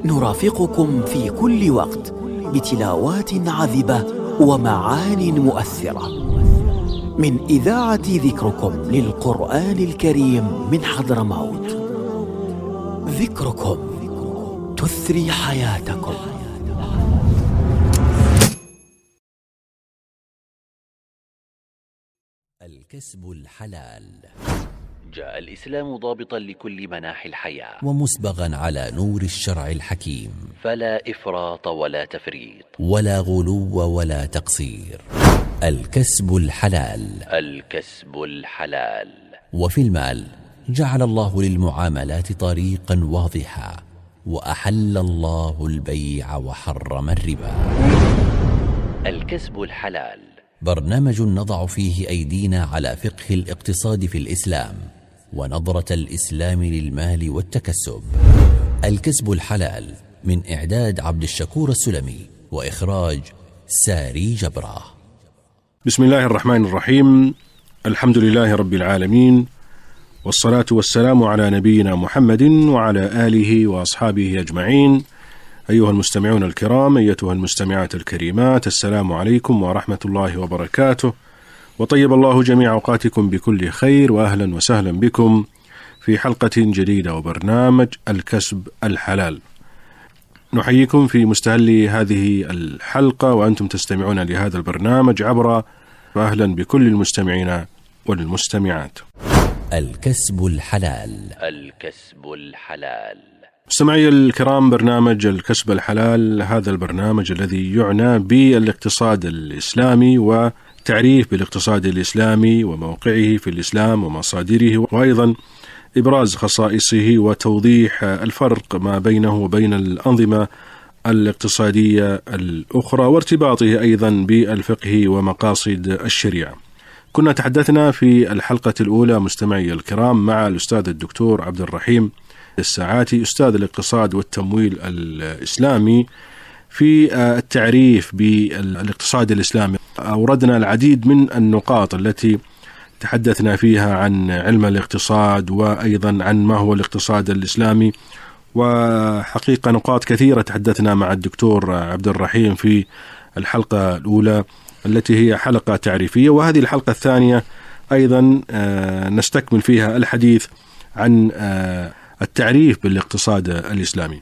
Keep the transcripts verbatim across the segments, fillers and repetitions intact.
نرافقكم في كل وقت بتلاوات عذبة ومعان مؤثرة من إذاعة ذكركم للقرآن الكريم من حضرموت. ذكركم تثري حياتكم. الكسب الحلال. جاء الإسلام ضابطا لكل مناحي الحياة ومسبغا على نور الشرع الحكيم، فلا إفراط ولا تفريط ولا غلو ولا تقصير. الكسب الحلال. الكسب الحلال. وفي المال جعل الله للمعاملات طريقا واضحا، وأحل الله البيع وحرم الربا. الكسب الحلال برنامج نضع فيه أيدينا على فقه الاقتصاد في الإسلام ونظرة الإسلام للمال والتكسب. الكسب الحلال من إعداد عبد الشكور السلمي وإخراج ساري جبرة. بسم الله الرحمن الرحيم. الحمد لله رب العالمين، والصلاة والسلام على نبينا محمد وعلى آله وأصحابه أجمعين. أيها المستمعون الكرام، أيتها المستمعات الكريمات، السلام عليكم ورحمة الله وبركاته، وطيب الله جميع أوقاتكم بكل خير، وأهلا وسهلا بكم في حلقة جديدة وبرنامج الكسب الحلال. نحييكم في مستهل هذه الحلقة وأنتم تستمعون لهذا البرنامج عبر، وأهلا بكل المستمعين والمستمعات. الكسب الحلال. الكسب الحلال. مستمعي الكرام، برنامج الكسب الحلال هذا البرنامج الذي يعنى بالاقتصاد الإسلامي وتعريف بالاقتصاد الإسلامي وموقعه في الإسلام ومصادره، وأيضا إبراز خصائصه وتوضيح الفرق ما بينه وبين الأنظمة الاقتصادية الأخرى، وارتباطه أيضا بالفقه ومقاصد الشريعة. كنا تحدثنا في الحلقة الأولى مستمعي الكرام مع الأستاذ الدكتور عبد الرحيم الساعاتي، أستاذ الاقتصاد والتمويل الإسلامي، في التعريف بالاقتصاد الإسلامي. أوردنا العديد من النقاط التي تحدثنا فيها عن علم الاقتصاد، وأيضا عن ما هو الاقتصاد الإسلامي، وحقيقة نقاط كثيرة تحدثنا مع الدكتور عبد الرحيم في الحلقة الأولى التي هي حلقة تعريفية، وهذه الحلقة الثانية أيضا نستكمل فيها الحديث عن التعريف بالاقتصاد الإسلامي.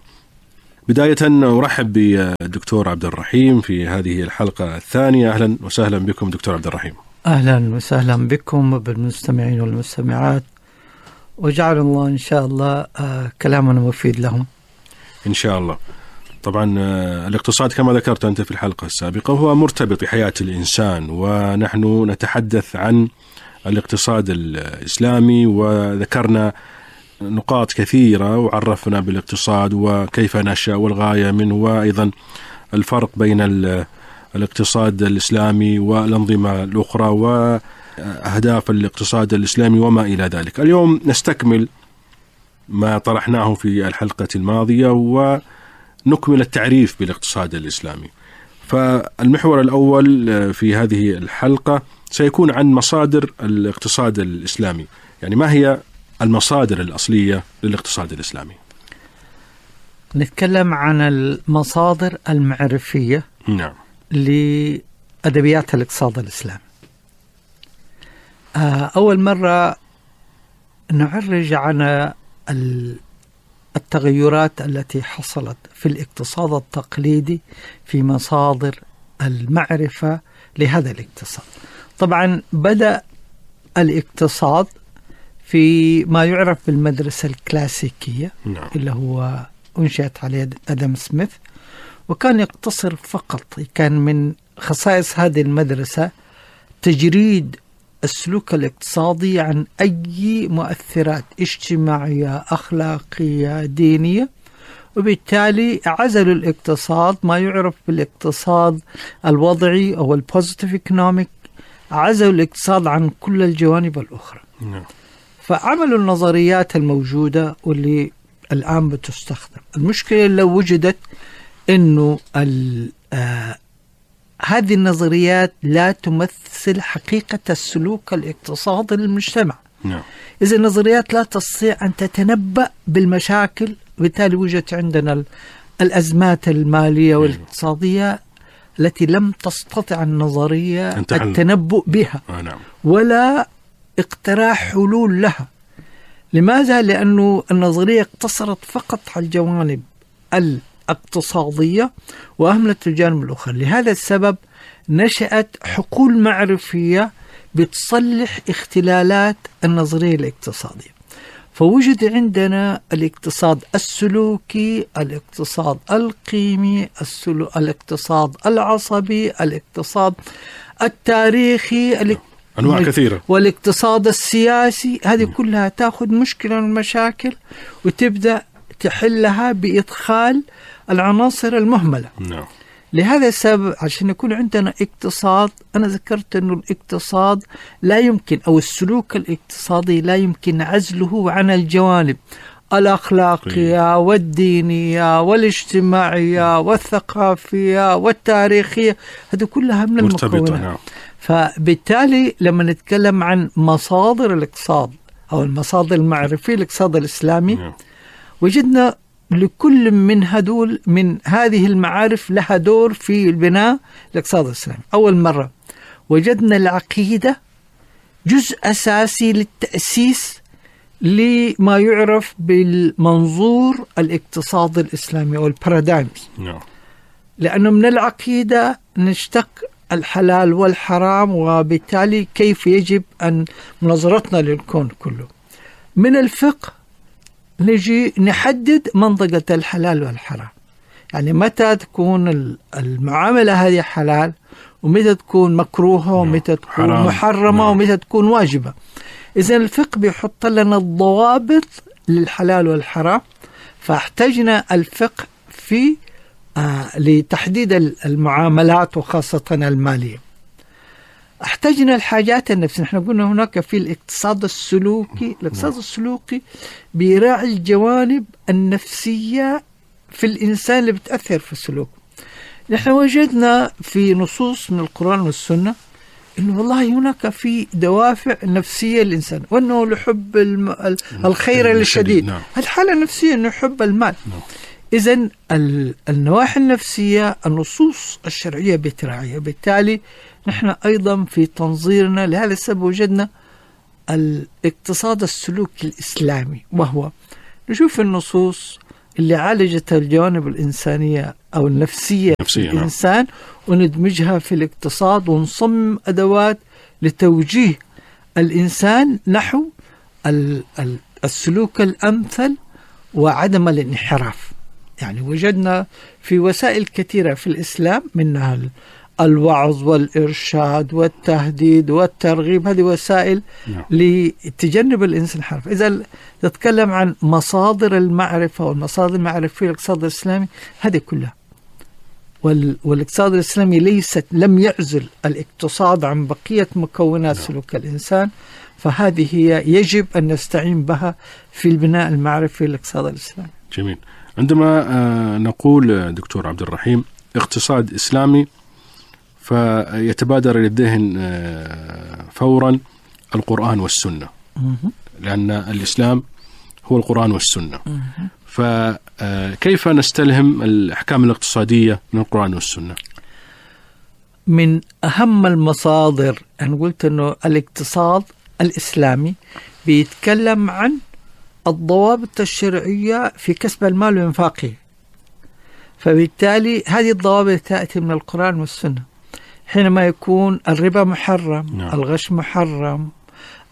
بداية أرحب بالدكتور عبد الرحيم في هذه الحلقة الثانية. أهلا وسهلا بكم دكتور عبد الرحيم. أهلا وسهلا بكم وبالمستمعين والمستمعات، وجعل الله إن شاء الله كلامنا مفيد لهم إن شاء الله. طبعا الاقتصاد كما ذكرت أنت في الحلقة السابقة هو مرتبط بحياة الإنسان، ونحن نتحدث عن الاقتصاد الإسلامي، وذكرنا نقاط كثيرة وعرفنا بالاقتصاد وكيف نشأ والغاية منه، وأيضا الفرق بين الاقتصاد الإسلامي والأنظمة الأخرى وأهداف الاقتصاد الإسلامي وما إلى ذلك. اليوم نستكمل ما طرحناه في الحلقة الماضية ونكمل التعريف بالاقتصاد الإسلامي. فالمحور الأول في هذه الحلقة سيكون عن مصادر الاقتصاد الإسلامي، يعني ما هي المصادر الأصلية للاقتصاد الإسلامي؟ نتكلم عن المصادر المعرفية نعم لأدبيات الاقتصاد الإسلامي. أول مرة نعرج عن التغيرات التي حصلت في الاقتصاد التقليدي في مصادر المعرفة لهذا الاقتصاد. طبعا بدأ الاقتصاد في ما يعرف بالمدرسة الكلاسيكية نعم. اللي هو أنشأت عليه أدم سميث، وكان يقتصر فقط، كان من خصائص هذه المدرسة تجريد السلوك الاقتصادي عن أي مؤثرات اجتماعية أخلاقية دينية، وبالتالي عزلوا الاقتصاد ما يعرف بالاقتصاد الوضعي أو البوزيتيف ايكونوميك، عزلوا الاقتصاد عن كل الجوانب الأخرى. نعم. فعملوا النظريات الموجودة واللي الآن بتستخدم. المشكلة لو وجدت أنه آه هذه النظريات لا تمثل حقيقة السلوك الاقتصادي للمجتمع. نعم. إذا النظريات لا تستطيع أن تتنبأ بالمشاكل، وبالتالي وجدت عندنا الأزمات المالية والاقتصادية التي لم تستطع النظرية التنبؤ بها ولا اقتراح حلول لها. لماذا؟ لأنه النظرية اقتصرت فقط على الجوانب الاقتصادية وأهملت الجانب الآخر. لهذا السبب نشأت حقول معرفية بتصلح اختلالات النظرية الاقتصادية. فوجد عندنا الاقتصاد السلوكي، الاقتصاد القيمي، الاقتصاد العصبي، الاقتصاد التاريخي، أنواع كثيرة، والاقتصاد السياسي. هذه كلها تأخذ مشكلة من المشاكل وتبدأ تحلها بإدخال العناصر المهملة. نعم. لهذا السبب عشان يكون عندنا اقتصاد، أنا ذكرت أنه الاقتصاد لا يمكن، أو السلوك الاقتصادي لا يمكن عزله عن الجوانب الأخلاقية والدينية والاجتماعية والثقافية والتاريخية. هذه كلها من المكونات. نعم. فبالتالي لما نتكلم عن مصادر الاقتصاد أو المصادر المعرفية الاقتصاد الإسلامي، نعم. وجدنا لكل من هدول من هذه المعارف لها دور في البناء الاقتصاد الإسلامي. أول مرة وجدنا العقيدة جزء أساسي للتأسيس لما يعرف بالمنظور الاقتصاد الإسلامي أو البارادايمز. no. لأنه من العقيدة نشتق الحلال والحرام، وبالتالي كيف يجب أن مناظرتنا للكون كله. من الفقه نجي نحدد منطقة الحلال والحرام، يعني متى تكون المعاملة هذه حلال، ومتى تكون مكروهة، ومتى تكون حرام. محرمة، ومتى تكون واجبة. إذن الفقه بيحط لنا الضوابط للحلال والحرام، فاحتجنا الفقه في آه لتحديد المعاملات وخاصة المالية. احتجنا الحاجات النفسية. نحن قلنا هناك في الاقتصاد السلوكي، الاقتصاد السلوكي بيراعي الجوانب النفسية في الإنسان اللي بتأثر في السلوك. نحن وجدنا في نصوص من القرآن والسنة إنه والله هناك في دوافع نفسية للإنسان، وأنه لحب الم... الخير الشديد. نعم. الحالة النفسية أنه يحب المال. نعم. إذن النواحي النفسية النصوص الشرعية بتراعيها. بالتالي نحن أيضا في تنظيرنا لهذا السبب وجدنا الاقتصاد السلوكي الإسلامي، وهو نشوف النصوص اللي عالجت الجوانب الإنسانية أو النفسية في الإنسان، نعم. وندمجها في الاقتصاد ونصمم أدوات لتوجيه الإنسان نحو السلوك الأمثل وعدم الانحراف. يعني وجدنا في وسائل كثيرة في الإسلام، منها الوعظ والإرشاد والتهديد والترغيب. هذه وسائل نعم. لتجنب الإنسان الحرف. إذا تتكلم عن مصادر المعرفة والمصادر المعرفية في الاقتصاد الإسلامي، هذه كلها. والاقتصاد الإسلامي ليست لم يعزل الاقتصاد عن بقية مكونات نعم. سلوك الإنسان، فهذه هي يجب أن نستعين بها في البناء المعرفي في الاقتصاد الإسلامي. جميل. عندما نقول دكتور عبد الرحيم اقتصاد إسلامي، فيتبادر للذهن فورا القرآن والسنة، لأن الإسلام هو القرآن والسنة. فكيف نستلهم الأحكام الاقتصادية من القرآن والسنة؟ من أهم المصادر، أنا قلت أنه الاقتصاد الإسلامي بيتكلم عن الضوابط الشرعية في كسب المال وإنفاقه، فبالتالي هذه الضوابط تأتي من القرآن والسنة. حينما يكون الربا محرم، نعم. الغش محرم،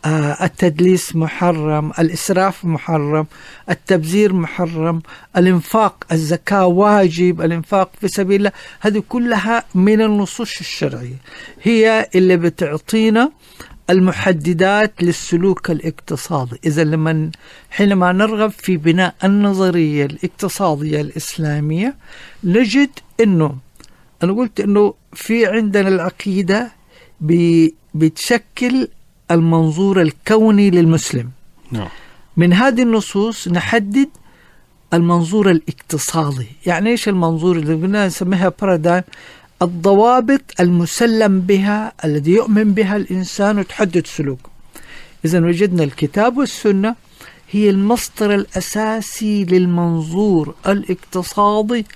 آه التدليس محرم، الإسراف محرم، التبذير محرم، الإنفاق، الزكاة واجب، الإنفاق في سبيل الله، هذه كلها من النصوص الشرعية، هي اللي بتعطينا المحددات للسلوك الاقتصادي. إذا لما حينما نرغب في بناء النظرية الاقتصادية الإسلامية نجد أنه أنا قلت أنه في عندنا العقيدة بتشكل المنظور الكوني للمسلم. نعم. من هذه النصوص نحدد المنظور الاقتصادي. يعني إيش المنظور اللي قلنا نسميها بارادايم؟ الضوابط المسلم بها الذي يؤمن بها الإنسان وتحدد سلوكه. إذن وجدنا الكتاب والسنة هي المصدر الأساسي للمنظور الاقتصادي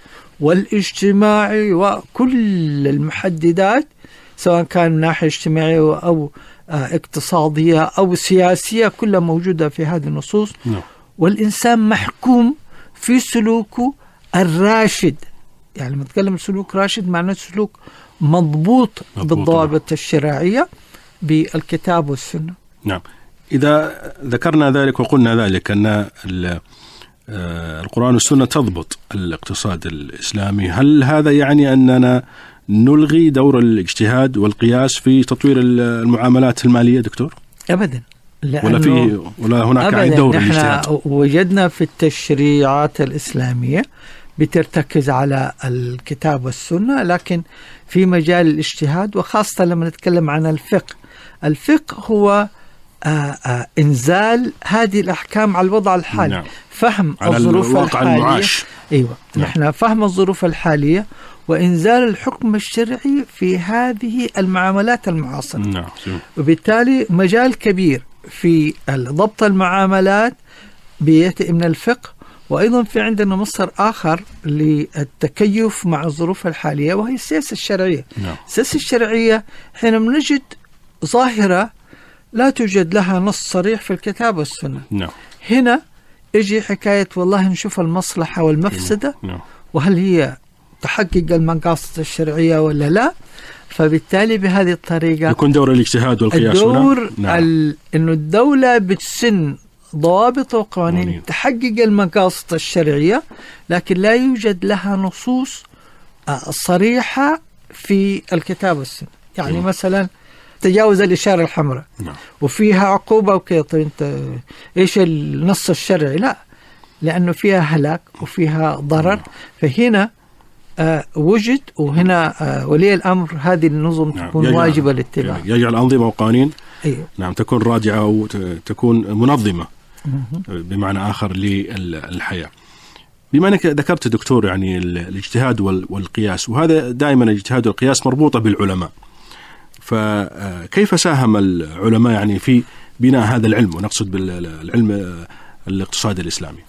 والاجتماعي وكل المحددات، سواء كان من ناحية اجتماعية أو اقتصادية أو سياسية، كلها موجودة في هذه النصوص. نعم. والإنسان محكوم في سلوكه الراشد، يعني لما نتكلم سلوك راشد معناه سلوك مضبوط, مضبوط بالضوابط الشرعية بالكتاب والسنة. نعم. إذا ذكرنا ذلك وقلنا ذلك أن القرآن والسنة تضبط الاقتصاد الإسلامي، هل هذا يعني أننا نلغي دور الاجتهاد والقياس في تطوير المعاملات المالية دكتور؟ أبدا، ولا في ولا هناك أبداً. دور الاجتهاد وجدنا في التشريعات الإسلامية بترتكز على الكتاب والسنة، لكن في مجال الاجتهاد، وخاصة لما نتكلم عن الفقه. الفقه هو آآ آآ إنزال هذه الأحكام على الوضع الحالي. نعم. فهم الظروف الحالية. المعاش. أيوة. نعم. نحن فهم الظروف الحالية وإنزال الحكم الشرعي في هذه المعاملات المعاصرة. نعم. وبالتالي مجال كبير في ضبط المعاملات بيأتي من الفقه، وأيضا في عندنا مصدر آخر للتكيف مع الظروف الحالية وهي السياسة الشرعية. نعم. السياسة الشرعية حينما نجد ظاهرة لا توجد لها نص صريح في الكتاب والسنة. نعم. هنا يجي حكاية والله نشوف المصلحة والمفسدة. نعم. وهل هي تحقق المقاصد الشرعية ولا لا، فبالتالي بهذه الطريقة يكون دور الاجتهاد والقياس. الدور نعم. ال... إنه الدولة بتسن ضوابط وقوانين مونين. تحقق المقاصد الشرعية، لكن لا يوجد لها نصوص صريحة في الكتاب والسنة. يعني م. مثلا تجاوز الإشارة الحمراء نعم. وفيها عقوبة وكذا، طيب انت ايش النص الشرعي؟ لا، لأنه فيها هلاك وفيها ضرر. نعم. فهنا آه وجد، وهنا آه ولي الأمر هذه النظم نعم. تكون يجعل واجبة الاتباع، يجعل أنظمة وقوانين. أيوه. نعم، تكون رادعة أو تكون منظمة بمعنى آخر للحياة. بما أنك ذكرت دكتور يعني الاجتهاد والقياس، وهذا دائما الاجتهاد والقياس مربوطة بالعلماء، فكيف ساهم العلماء يعني في بناء هذا العلم، ونقصد بالعلم الاقتصادي الإسلامي؟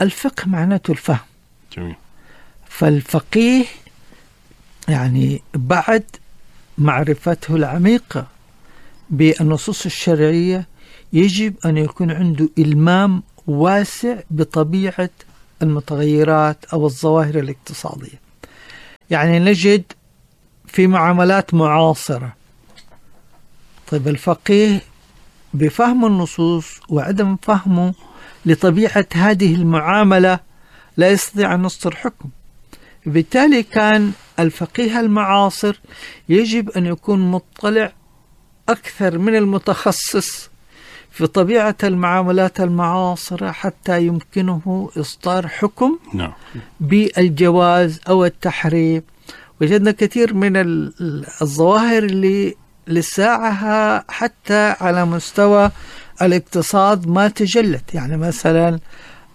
الفقه معناته الفهم. جميل. فالفقيه يعني بعد معرفته العميقة بالنصوص الشرعية يجب أن يكون عنده إلمام واسع بطبيعة المتغيرات أو الظواهر الاقتصادية. يعني نجد في معاملات معاصرة، طيب الفقيه بفهم النصوص وعدم فهمه لطبيعة هذه المعاملة لا يستطيع أن يصدر حكم. بالتالي كان الفقيه المعاصر يجب أن يكون مطلع أكثر من المتخصص في طبيعة المعاملات المعاصرة حتى يمكنه إصدار حكم نعم. بالجواز أو التحريم. وجدنا كثير من الظواهر اللي لساعها حتى على مستوى الاقتصاد ما تجلت، يعني مثلا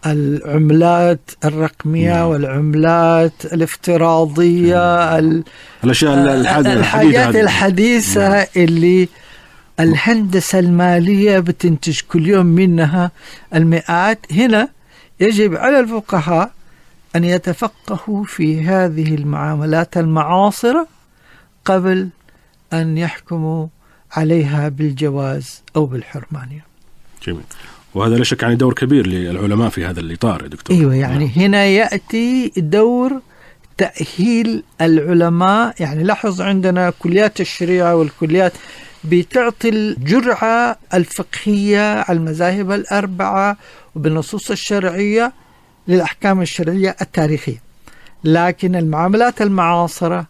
العملات الرقمية نعم. والعملات الافتراضية نعم. الأشياء الحاجات الحديثة نعم. اللي الهندسة المالية بتنتج كل يوم منها المئات. هنا يجب على الفقهاء أن يتفقهوا في هذه المعاملات المعاصرة قبل أن يحكموا عليها بالجواز أو بالحرمانية. جميل. وهذا لا شك يعني دور كبير للعلماء في هذا الإطار يا دكتور. أيوة، يعني نعم. هنا يأتي دور تأهيل العلماء. يعني لاحظ عندنا كليات الشريعة والكليات بتعطي الجرعة الفقهية على المذاهب الأربعة وبالنصوص الشرعية للأحكام الشرعية التاريخية، لكن المعاملات المعاصرة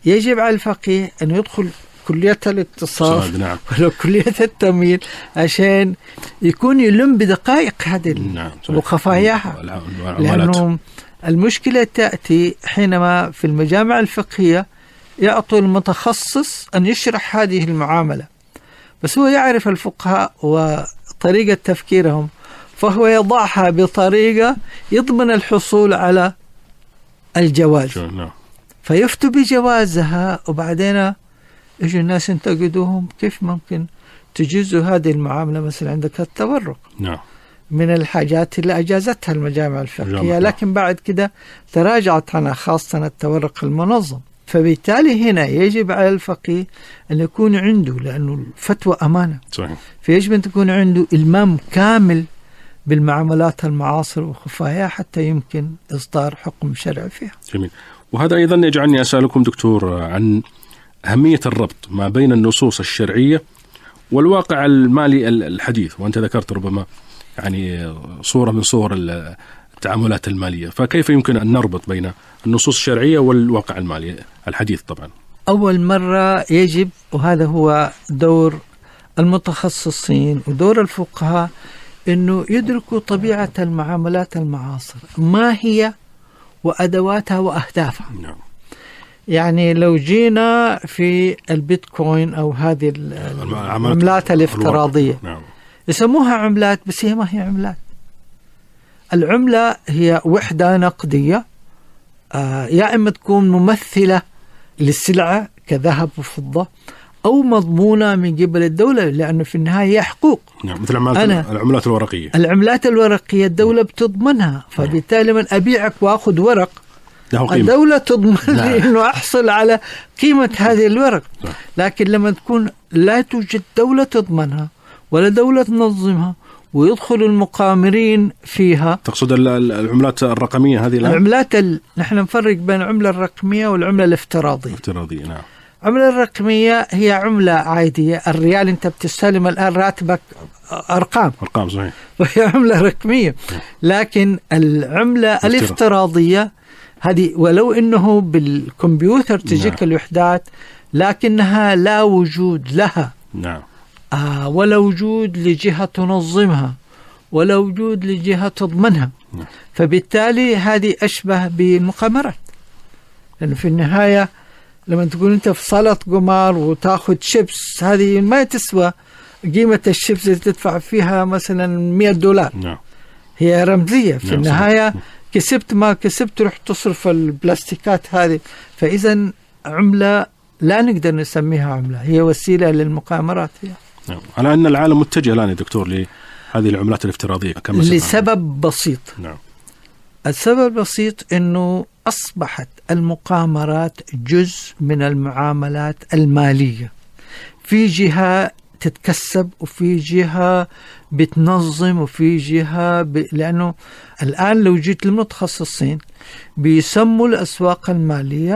يجب على الفقيه أن يدخل كلية الاقتصاد نعم. ولو كلية التمويل عشان يكون يلم بدقائق هذه نعم. وخفاياها. لأنه المشكلة تأتي حينما في المجامع الفقهية يعطوا المتخصص أن يشرح هذه المعاملة، بس هو يعرف الفقهاء وطريقة تفكيرهم، فهو يضعها بطريقة يضمن الحصول على الجواز فيفتوا بجوازها، وبعدين يجوا الناس ينتقدوهم كيف ممكن تجيزوا هذه المعاملة. مثلا عندك التورق نعم. من الحاجات اللي أجازتها المجامع الفقهية، جامعة. لكن بعد كده تراجعت عنها، خاصة التورق المنظم. فبالتالي هنا يجب على الفقيه أن يكون عنده، لأنه الفتوى أمانة، صحيح. فيجب أن تكون عنده إلمام كامل بالمعاملات المعاصرة وخفاياها حتى يمكن إصدار حكم شرعي فيها. جميل. وهذا أيضا يجعلني أسألكم دكتور عن أهمية الربط ما بين النصوص الشرعية والواقع المالي الحديث، وأنت ذكرت ربما يعني صورة من صور التعاملات المالية، فكيف يمكن أن نربط بين النصوص الشرعية والواقع المالي الحديث؟ طبعا أول مرة يجب، وهذا هو دور المتخصصين ودور الفقهاء، أنه يدركوا طبيعة المعاملات المعاصرة، ما هي وأدواتها وأهدافها. نعم. يعني لو جينا في البيتكوين أو هذه العملات الافتراضية، نعم. يسموها عملات، بس هي ما هي عملات. العملة هي وحدة نقدية، آه يا إما تكون ممثلة للسلعة كذهب وفضة، أو مضمونة من قبل الدولة، لأنه في النهاية هي حقوق. نعم. مثل العملات الورقية. العملات الورقية الدولة بتضمنها، فبالتالي من أبيعك وأخذ ورق الدولة تضمن لي أنه أحصل على قيمة هذه الورق. لكن لما تكون لا توجد دولة تضمنها ولا دولة تنظمها ويدخل المقامرين فيها. تقصد العملات الرقمية هذه؟ العملات ال... نحن نفرق بين العملة الرقمية والعملة الافتراضية. الافتراضية نعم. العملة الرقمية هي عملة عادية، الريال أنت بتستلم الآن راتبك أرقام أرقام صحيح، وهي عملة رقمية. لكن العملة الافتراضية هذه ولو إنه بالكمبيوتر تجيك نعم. الوحدات، لكنها لا وجود لها. نعم. آه ولا وجود لجهة تنظمها ولا وجود لجهة تضمنها. نعم. فبالتالي هذه أشبه بالمقامرات، لأنه في النهاية لما تقول أنت في صالة قمار وتأخذ شيبس، هذه ما تسوى قيمة الشيبس اللي تدفع فيها مثلا مئة دولار. نعم. هي رمزية في نعم. النهاية صحيح. كسبت ما كسبت رح تصرف البلاستيكات هذه. فإذا عملة لا نقدر نسميها عملة، هي وسيلة للمقامرات هي. نعم. على أن العالم متجه الآن يا دكتور لهذه العملات الافتراضية كما لسبب بسيط. نعم. السبب البسيط أنه أصبحت المقامرات جزء من المعاملات المالية، في جهة تتكسب وفي جهة بتنظم وفي جهة ب... لأنه الآن لو جيت للمتخصصين بيسموا الأسواق المالية